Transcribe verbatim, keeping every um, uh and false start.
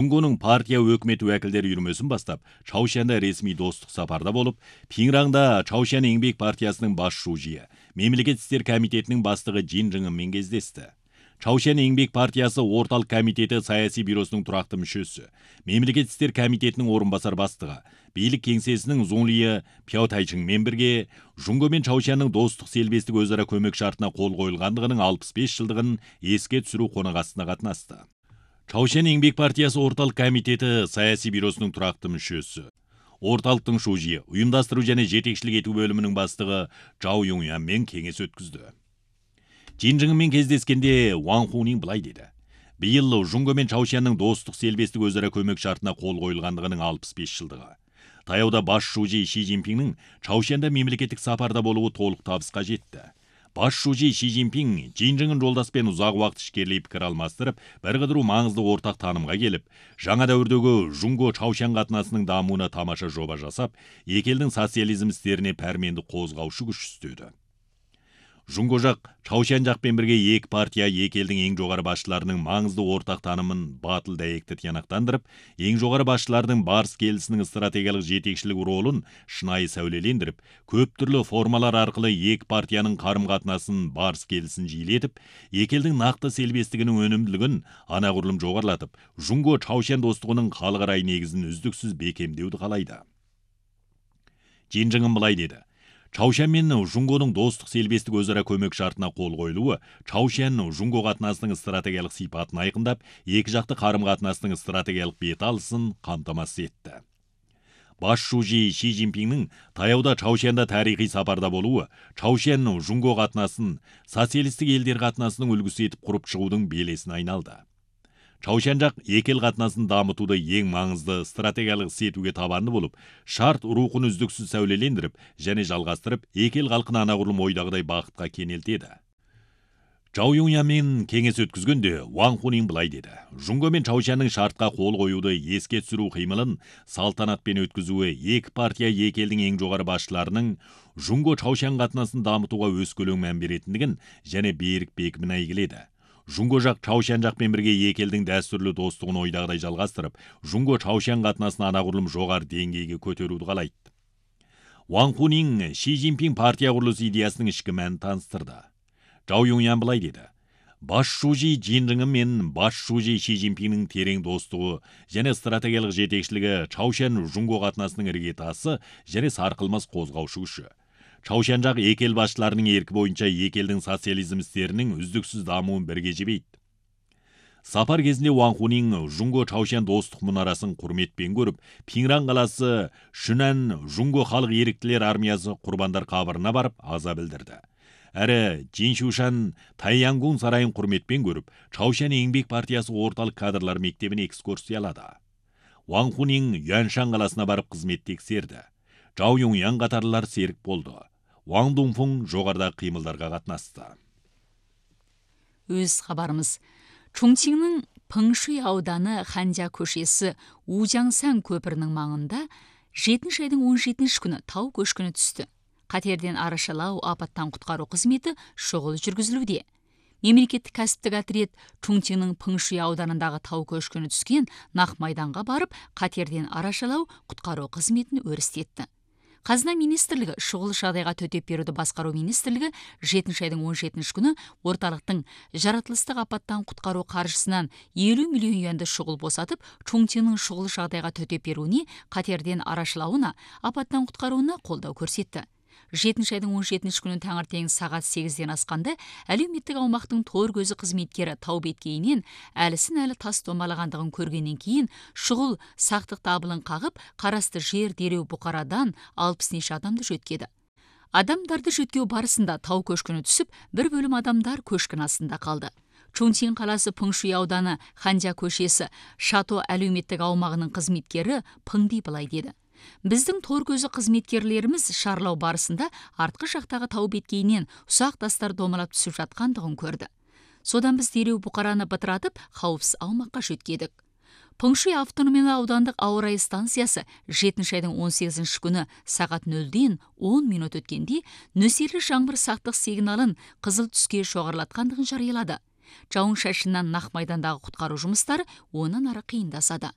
Жунгонун партия өкмөт вакилдери үйрмөсүн бастап, Чаушанда ресми достук сапарда болуп, Пиңраңда Чаушан Эмгек партиясынын баш шужийи, Мемлекет иштер комитетинин баштыгы Жин Жыңын менен кездешти. Чаушан Эмгек партиясы орталык комитети саясий бюросунун турактуу мүчөсү, Мемлекет иштер комитетинин орун басар баштыгы, бийлик кеңсесинин Зунлие Пяотайчың менен бирге Жунго менен Чаушандын достук селбестик өз ара көмөк шартына кол коюлгандыгынын алпыс беш жылдыгын эске түшүрүү конагасына катнашты. Чаушан Эмгек партиясы орталык комитети саясий бюросунун турактуу мүчөсү, орталыктын шужийи, уюмдаштыруу жана жетекчилик этүү бөлүмүнүн баштыгы Жао Юңян менен кеңеш өткүздү. Жин Жың менен кездескенде Ван Хунин былай деди. Быйыл Жунго менен Чаушандын достук селбестик өз ара көмөк шартына кол коюлгандыгынын алпыс беш жылдыгы. Таяуда баш шужий Ши Цзиньпиңдин Чаушанда мемлекеттик сапарда болуу толук табыска жетти. Баш шужий Ши Цзиньпиң Жин Жыңын жолдаш менен узак убакыт ишкерлей пикир алмаштырып, бир кыдыруу маңыздуу ортак таанымга келип, жаңа дәврдөгү Жунго Чаушан катнашынын даамына тамаша жоба жасап, эки элдин социализм истерине пәрменди козгаушу күчтүүдө. Жунго жак Чаушан жак менен бирге эки партия эки элдин эң жогору башчыларынын маңыздуу ортак таанымын батыл дәйекте тыянактандырып, эң жогору башчылардын барс келисинин стратегиялык жетекчилик ролун шынайы сәүлелендирип, көп түрлүү формалар аркылуу эки партиянын карым-катнасын барс келисин жийлетип, эки элдин накты селбестигинин өнүмдүүлүгүн анагурлум жогорулатып, Жунго Чаушан достугунун калгырай негизин үздүксүз бекемдөөдү каалайды. Жин Жыңын былай деди. Чаушан менен Жунгонун достук селбестик өз ара көмөк шартына кол коюлуу Чаушан Жунго катнашынын стратегиялык сыйпатын айкындап, эки жакты карым-катнаштын стратегиялык бет алысын камтамасыз этти. Баш шужий Ши Цзиньпиңдин таяуда Чаушанда тарыхый сапарда болуу Чаушан Жунго катнасын социалисттик элдер катнашынын үлгүсү этип куруп чыгуудун белесине айналды. Чаушан жак эки эл катнасын дамытууда эң маңызды стратегиялык сетүүгө табанды болуп, шарт рухун үздүксүз сәүлелендирип және жалгастырып, эки эл калкын анагурлум ойдагыдай бакытка кенелтеди. Жао Юңян менен кеңеш өткүзгөндө Ван Хунин былай деди. Жунго менен Чаушандын шартка кол коюуду эске түшүрүү кыймылын салтанат менен өткүзүүгө эки партия эки элдин эң жогору башчыларынын Жунго Чаушан катнасын дамытууга өз көлөң маан беретиндигин және берик бекимин айгиледи. Жунго жак Чаушан жак менен бирге эки элдин дәстүрлүү достугун ойдагыдай жалгастырып, Жунго Чаушан катнасын анагурлум жогору деңгээлге көтөрүүнү каалайт. Ван Хунин Ши Цзиньпиң партия курулушу идеясынын ички маанин таныстырды. Жао Юңян былай деди. Баш шужий Жин Жыңы менен баш шужий Ши Цзиньпиңдин терең достугу және стратегиялык жетекчилиги Чаушан Жунго катнашынын иргетасы және саркылмас козгаушы күчү. Чаушан жак эки эл башчыларынын эрки боюнча эки элдин социализм истеринин үздүксүз дамуун бирге жебейт. Сапар кезинде Ван Хунин Жунго Чаушан достук мунарасын курметпен көрүп, Пиңран каласы Шүнан Жунго халык эриктилер армиясы курбандар кабырына барып аза билдирди. Әрі Жиншушан Тайянгун сарайын курметпен көрүп, Чаушан Эмгек партиясы орталык кадрлар мектебине экскурсиялады. Ван Хунин Юаншан каласына барып кызмет текшерди. Жао Юңян катарлар серик болду. Ван Дунфун жогоруда кыймылдарга катнашты. Өз кабарыбыз. Чоңчиңнин Пыңшуй ауданы Ханжа көшесі Ужаңсан көпірінің маңында жетинчи айдын он жетинчи күнү тау көшкүнү түстү. Катерден арашалау апаттан куткаруу кызмети шогул жүргүзүлүүдө. Мемлекеттик кәсиптик отряд Чоңчиңнин Пыңшуй ауданындагы тау көшкүнү түскөн нак майданга барып, катерден арашалау куткаруу кызметин өрүстетти. Казына министрлиги шогул шагайга төтөп берүүдү башкаруу министрлиги жетинчи айдын он жетинчи күнү орталыктын жаратылыштык апаттан куткаруу каржысынан элүү миллион юанды шогул босатып, Чоңчиңнин шогул шагайга төтөп берүүнү, катерден арашалауна, апаттан куткарууна колдоо көрсөттү. жетинчи айдын он жетинчи күнү таңертең сагат сегизден асканда әлеуметтик аумактын тоор көзү кызметкери тау беткейинен әлисин әлі тас домалагандыгын көргөндөн кийин шугул сактык табылын кагып, карасты жер дереу букарадан алпыс нече адамды жөткөдү. Адамдарды жөткөө барысында тау көшкүнү түсүп, бир бөлүм адамдар көшкүн астында калды. Чоңчиң каласы Пыңшуй ауданы Ханжа көшесі Шато әлеуметтик аумагынын кызметкери Пыңди былай деди. Биздин тоор көзү кызметкерлерimiz шарлоо барысында арткы жактагы тау беткейинен усак тастар домалап түсүп жаткандыгын көрдү. Содан биз дереу букараны бытыратып, кауіпсіз аумакка жөткөдүк. Пыңшуй автономиялык аудандык ауа райы станциясы жетинчи айдын он сегизинчи күнү сагат нөлдөн он мүнөт өткөндө нөсерлүү жаңбыр сактык сигналын кызыл түскө чогорулаткандыгын жарыялады. Жауын шашындан нак майдандагы куткаруу жумуштары ондан ары кыйындасады.